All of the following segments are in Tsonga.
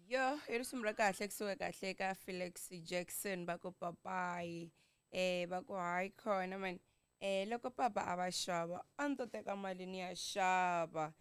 Yo, i risimu ra kahle kusuka kahle ka Felix Jackson va ku papayi va ku hayi khona mani loko papa a va xava a ni to teka mali ni ya xava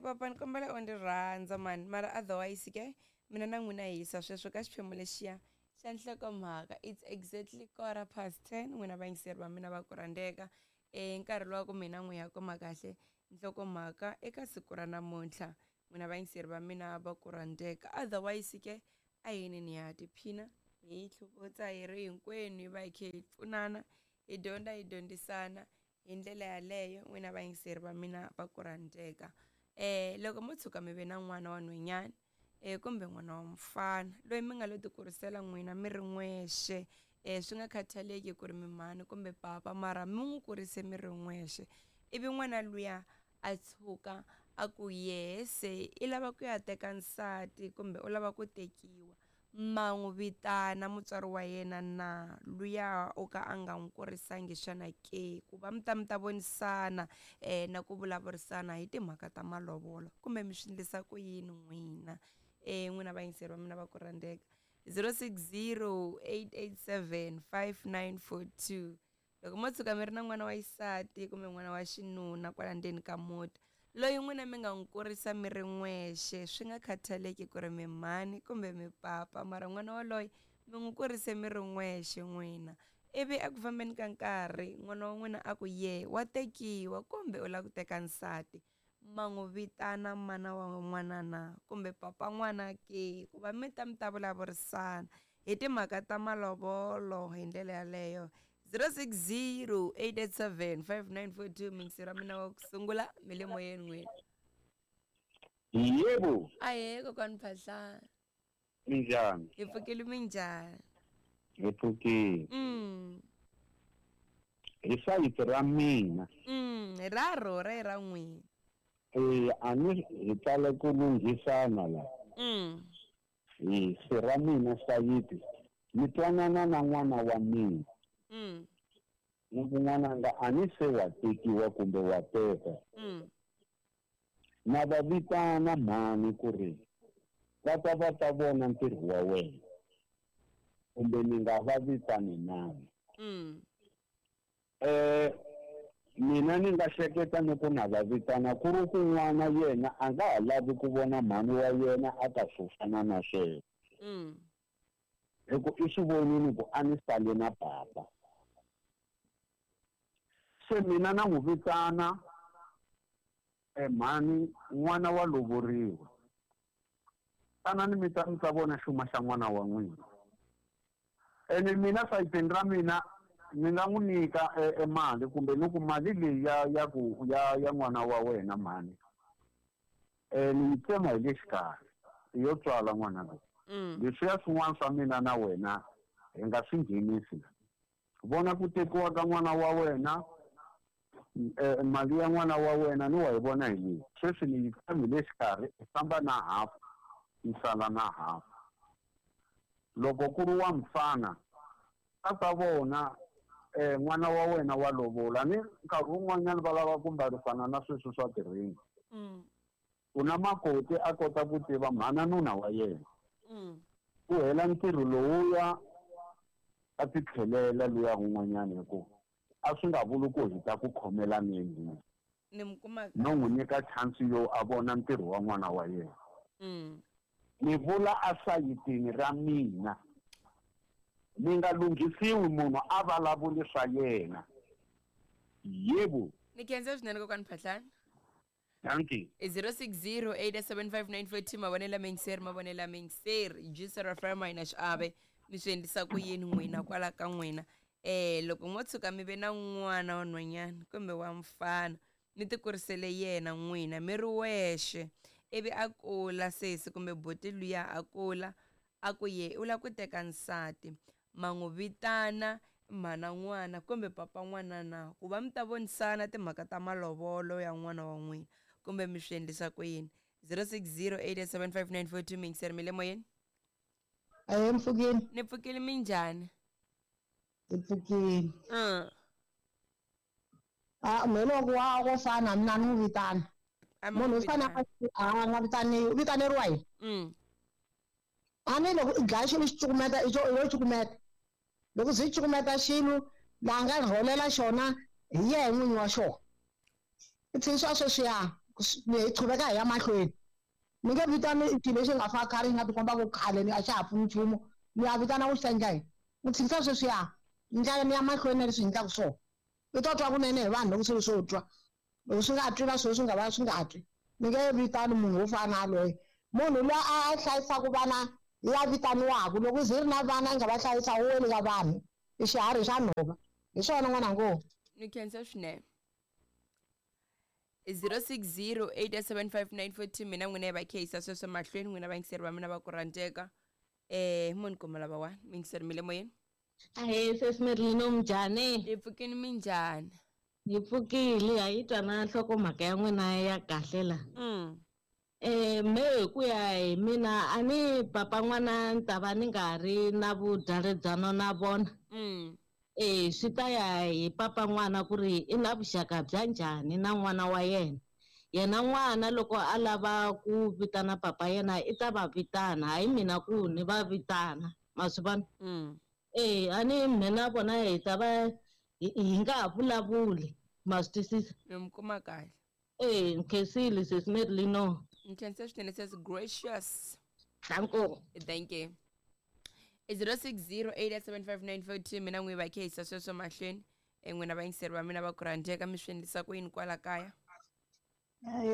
papa ni kombela u ndzi rhandza mani mara otherwise ke mina na n'wina hi yisa sweswo ka xiphemu lexiya xa nhlokomhaka. It's exactly 10:15. N'wina vayingiseri va mina va ku rhandzeka, nkarhi lowa ku mina n'wi ya kuma kahle nhlokomhaka eka siku ra namuntlha. N'wina vayingiseri va mina va ku rhandzeka, otherwise ke a yini ni ya tiphina hi tlhuvutsa hi ri hinkwenu, hi va hi khe hi pfunana, hi dyondza, hi dyondzisana hi ndlela yaleyo. N'wina vayingiseri va mina va ku rhandzeka, loko mo tshuka mi ve na n'wana wa nhwenyana kumbe n'wana wa mufana loyi mi nga lo ti kurisela n'wina mi ri n'wexe, swi nga khathaleki ku ri mi mhani kumbe papa, mara mi n'wi kurise mi ri n'wexe, ivi n'wana luya a tshuka a ku yehe se i lava ku ya teka nsati kumbe u lava ku tekiwa, ma n'wi vitana mutswari wa yena na luya o ka a nga n'wi kurisangi xana ke, ku va mi ta mi ta vonisana na ku vulavurisana hi timhaka ta malovolo, kumbe mi swi endlisa ku yini n'wina? N'wina vayingiseri va mina va ku rhandzeka, 0608875942. Loko mo tshuka mi ri na n'wana wa xisati kumbe n'wana wa xinuna kwala ndzeni ka muti loyi n'wina mi nga n'wi kurisa mi ri n'wexe, swi nga khathaleki ku ri mi mhani kumbe mi papa, mara n'wana waloye mi n'wi kurise mi ri n'wexe n'wina, ivi eku fambeni ka nkarhi n'wana wa n'wina a ku ye wa tekiwa kumbe u lava ku teka nsati, ma n'wi vitana mana wa n'wana na kumbe papa n'wana ke, ku va mi ta mi ta vulavurisana hi timhaka ta malovolo hi ndlela yaleyo. 0608875942. Miyingiseri wa mina wa ku sungula, mi le moyeni n'wina. Yebo. Ahee kokwani Phahlana. Minjhani? Hi pfukile, minjhani? Hi pfukile. Hi sayiti ra mina. Ra rhora i ra n'wina. A ni hi tala ku lunghisana la. Hi se ra mina sayiti ni twanana na n'wana wa mina. Ni ku n'wananga a ni se wa tekiwa kumbe wa teka. Na va vitana mhani ku ri va ta va ta vona ntirho wa wena, kumbe ni nga va vitani nani. Mina ni nga hleketa ni ku na va vitana ku ri ku n'wana yena a nga ha lavi ku vona mhani wa yena a ta swo fana na sweswo. Hi ku i swi vonile ku a ni sale na papa. Se mina na n'wi vitana mhani n'wana wa lovoriwa. Tanani mi ta mi ta vona xuma xa n'wana wa n'wina. Ene mina sayitini ra mina ni nga n'wi nyika mali kumbe ni ku mali leyi ya ya ku ya ya n'wana wa wena mhani, ni yi tsema hi le xikarhi yo tswala n'wana loyi. Leswiya swin'wana swa mina na wena hi nga swi nghenisi la. Vona ku tekiwa ka n'wana wa wena, mali ya n'wana wa wena ni wa yi vona hi leyi. Sweswi ni yi tsemi le xikarhi, i famba na half, ni sala na half. Loko ku ri wa mfana a ta vona n'wana wa wena wa lovola, ni nkarhi wun'wanyana va lava ku mbarisana na sweswi swa tiringi. Ku na makoti a kota ku tiva mhana nuna wa yena. Ku hela ntirho lowuya a ti tlhelela luya un'wanyana, hi ku a swi nga vuli ku hi ta ku khomela neni. Ni mi kuma No n'wi nyika chance yo a vona ntirho wa n'wana wa yena. Ni vula a sayitini ra mina, ni nga lunghisiwi munhu a vulavuli swa yena. Yebo. Ni khensa swinene kokwani Phahlana. Dankie. I 06087594 mavonelo miyingiseri, mavonelo miyingiseri. Juice FM yi na xiave, mi swi endlisa ku yini n'wina kwala ka n'wina? Loko mo tshuka mi ve na n'wana wa nhwanyana kumbe wa mfana, mi ti kurisele yena n'wina mi ri wexe, ivi a kula sesi kumbe buti luya a kula a ku ye u lava ku teka nsati, ma n'wi vitana mhana n'wana kumbe papa n'wana na, ku va mi ta vonisana timhaka ta malovolo ya n'wana wa n'wina, kumbe mi swi endlisa ku yini? 06087594 miyingiseri, mi le moyeni? Ahee, mpfukile. Ni pfukile, minjhani? Hi pfukile. A me loko wa ko fana mina ni n'wi vitana. A mi Munhu n'wi u fane vitana. a nga vitani, u vitaneriwa yini? A ni loko i dlaya xilo xi cukumeta i yo cukumeta. Loko ze i cukumeta xilo laha nga rholela xona hi yehe n'winyi wa xona. I tshikisiwa sweswiya hi qhuveka hi ya mahlweni. Ni nge vitani xilo lexi nga fa khale xi nga tikomba ku khale ni a xa ha pfuni nchumu ni ya vitana ku xi ta endla yini. Ni tshikisa sweswiya ni ndlela ni ya mahlweni na leswi hi endlaka swona. I to twa kunene hi vanhu loko swilo swo twa. Loko swi nga twi na swilo swi nga va swi nga twi. Ni nge vitani munhu wo fana na yaloye. Munhu luya a hlayisaka vana ya vitaniwaka loko u ze i ri na vana i nga va hlayisa wu weli ka vanhu i xiharhi xa nhova. Hi swona n'wananga. Ni khensa swinene. 06087594 mina n'wina hi va khehisa sweswo mahlweni n'wina vayingiseri va mina va ku rhandzeka mo ni kuma lava wa miyingiseri mi le moyeni. Ahee sesi Merlin minjhani? Hi pfukini minjhani? Hi pfukile ha yi twa na nhlokomhaka ya n'wina ya kahle la. Me hi ku ya hi mina a ni papa n'wana ni ta va ni nga ha ri na vudyaledzano na vona. Swi ta ya hi papa n'wana ku ri i na vuxaka bya njhani na n'wana wa yena. Yena n'wana loko a lava ku vitana papa yena i ta va vitana, hayi mina ku ni va vitana. Ma swi vona? A ni mina vona hi ta va hi nga ha vulavuli. Ma swi twisisa? Ni mi kuma kahle. Nkhensile sesi Merlino. Nkhensa swinene sesi Gracious. Danko. Thank you. 06087594 mina n'wi va khehisa sweswo mahlweni n'wina vayingiseri va mina va ku rhandzeka mi swi endlisa ku yini kwala kaya?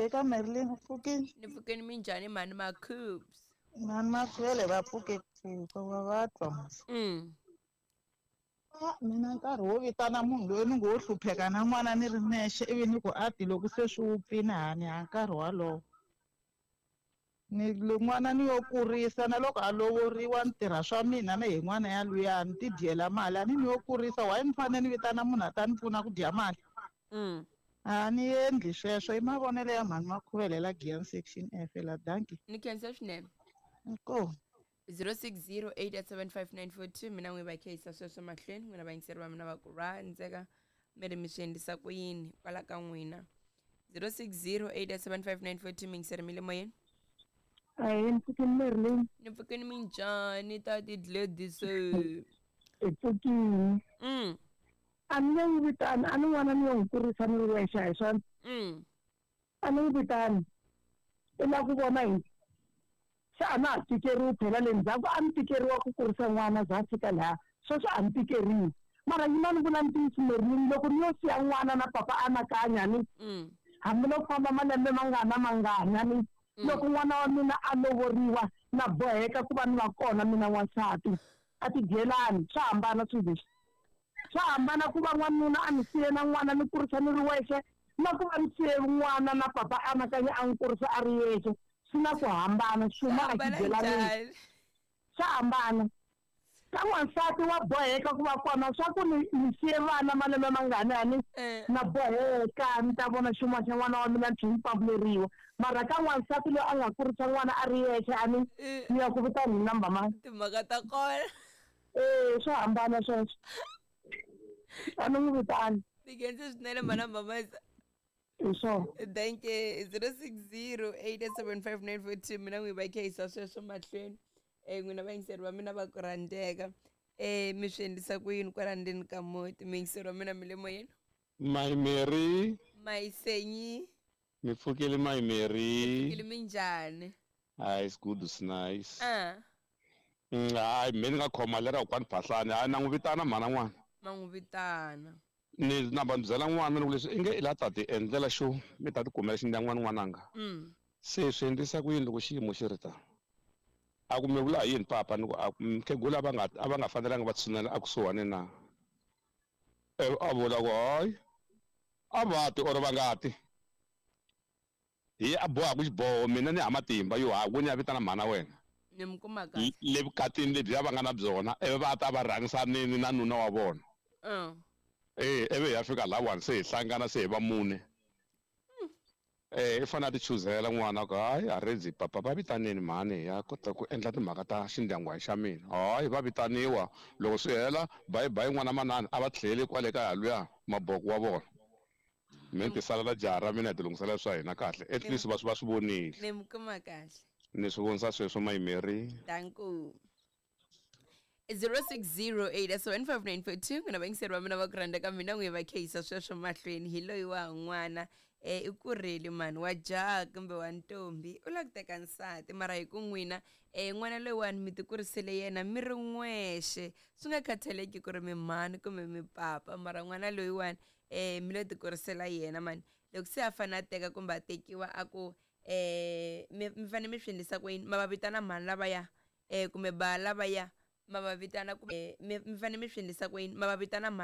Eka Merlin u pfukile. Ni pfukini minjhani mhani Makhubs? Mhani Makhuvele va pfuke pfuka va va twa. Mina nkarhi wo vitana munhu loyi ni ngo wo hlupheka na n'wana ni ri nexe ivi ni ku ati loko se swi wupfile hani ha nkarhi walowo. Ni n'wana ni yo kurisa na loko a lovoriwa ni tirha swa mina na hi n'wana ya luya ni ti dyela mali a ni ni yo kurisa why ni fanele ni vitana munhu a ta ni pfuna ku dya mali. A ni endli sweswo i mavonelo ya mhani Makhuvele la Giyani section F la dankie. Ni khensa swinene. Inkomu. 06087594 mina n'wi va khehisa sweswo mahlweni n'wina vayingiseri va mina va ku rhandzeka mi ri mi swi endlisa ku yini kwala ka n'wina. 06087594 miyingiseri mi le moyeni. Ahee, ni pfukini Merlin. Ni pfukini minjhani tati Gladys? Hi pfukini. A ni nge n'wi vitani, a ni n'wana ni yo n'wi kurisa ni ri wexe a hi swona. A ni n'wi vitani. I lava ku vona hi se a na ha tikeriwi phela le ndzhaku a ni tikeriwa ku kurisa n'wana za a fika laha sweswi a ni tikeriwi. Mara yima ni vula ntiyiso Merlin loko ni yo siya n'wana na papa anakanya ni hambi loko famba malembe mangana mangana ni loko n'wana wa mina a lovoriwa na boheka ku va ni va kona mina n'wansati a ti dyelani swa hambana swilo leswi. Swa hambana ku va n'wanuna a ni siye na n'wana ni kurisa ni ri wexe na ku va ni siye n'wana na papa anakanya a n'wi kurisa a ri yexe. Swi na ku hambana xuma a xi dyelanini. Swa hambana. Ka n'wansati wa boheka ku va kona swa ku ni ni siye vana malembe mangani ani na boheka ni ta vona xuma xa n'wana wa mina ni tlhela ni pambuleriwa. Mara ka n'wansati loyi a nga kurisa n'wana a ri yexe ani ni ya ku vitana hi number mani. Timhaka ta kona. Swa hambana sweswo. A ni n'wi vitani. Ni khensa swinene mhana Mamaza. Hi swona. Thank you. 06087594 mina n'wi va khehisa sweswo mahlweni. N'wina vayingiseri va mina va ku rhandzeka. Mi swi endlisa ku yini kwala ndzeni ka muti? Miyingiseri wa mina mi le moyeni. My Mary. My Senyi. Mi pfukile my Mary. Pfukile minjhani? Hayi, it's good, it's nice. Hayi, me ni nga khoma lera kwani Phahlane. Hayi, na n'wi vitana mhana n'wana. Ma n'wi vitana. Ni namba ni byela n'wana ni ku leswi i nge i la ta ti endlela xo mi ta ti kumela xindyangwana n'wananga. Se swi endlisa ku yini loko xiyimo xi ri ta? A ku mi vula hi yini papa ni ku a mukhegula a va nga fanelanga va tshunela a kusuhani na? A vula ku hayi a va ti or va nga ti. Hi a bohaka xiboho mina ni ha matimba yo ha ku ni ya vitana mhana wena. Ni mi kuma kahle. Le vukatini lebyiya va nga na byona ivi va ta va rhangisanini na nuna wa vona. Ivi hi ya fika lahawani se hi hlangana se hi va mune. I fanele a ti chuzela n'wana ku hayi a redzi papa va vitanini mhani hi ya kota ku endla timhaka ta xindyangwana xa mina. Hayi va vitaniwa loko swi hela bye bye n'wana manana a va tlheli kwale kaya luya maboko wa vona. Mi ti salela jaha ra mina hi ti lunghisela swa hina kahle at least va swi vonile. Ni mi kuma kahle. Ni swi vonisa sweswo Mayimeri. Danko. 0608715942 n'wina vayingiseri va mina va ku rhandza ka mina n'wi va kheyisa sweswo mahlweni hi loyi wa n'wana i kurile mani wa jaha kumbe wa ntombi u lava ku teka nsati mara hi ku n'wina n'wana loyiwani mi ti kurisele yena mi ri n'wexe swi nga khathaleki ku ri mi mhani kumbe mi papa mara n'wana loyiwani mi lo ti kurisela yena mani loko se a fanele a teka kumbe a tekiwa a ku mi fanele mi swi endlisa ku yini ma va vitana mhani lavaya kumbe ba lavaya ma va vitana kumbe mi fanele mi swi endlisa ku yini ma va vitana mhani.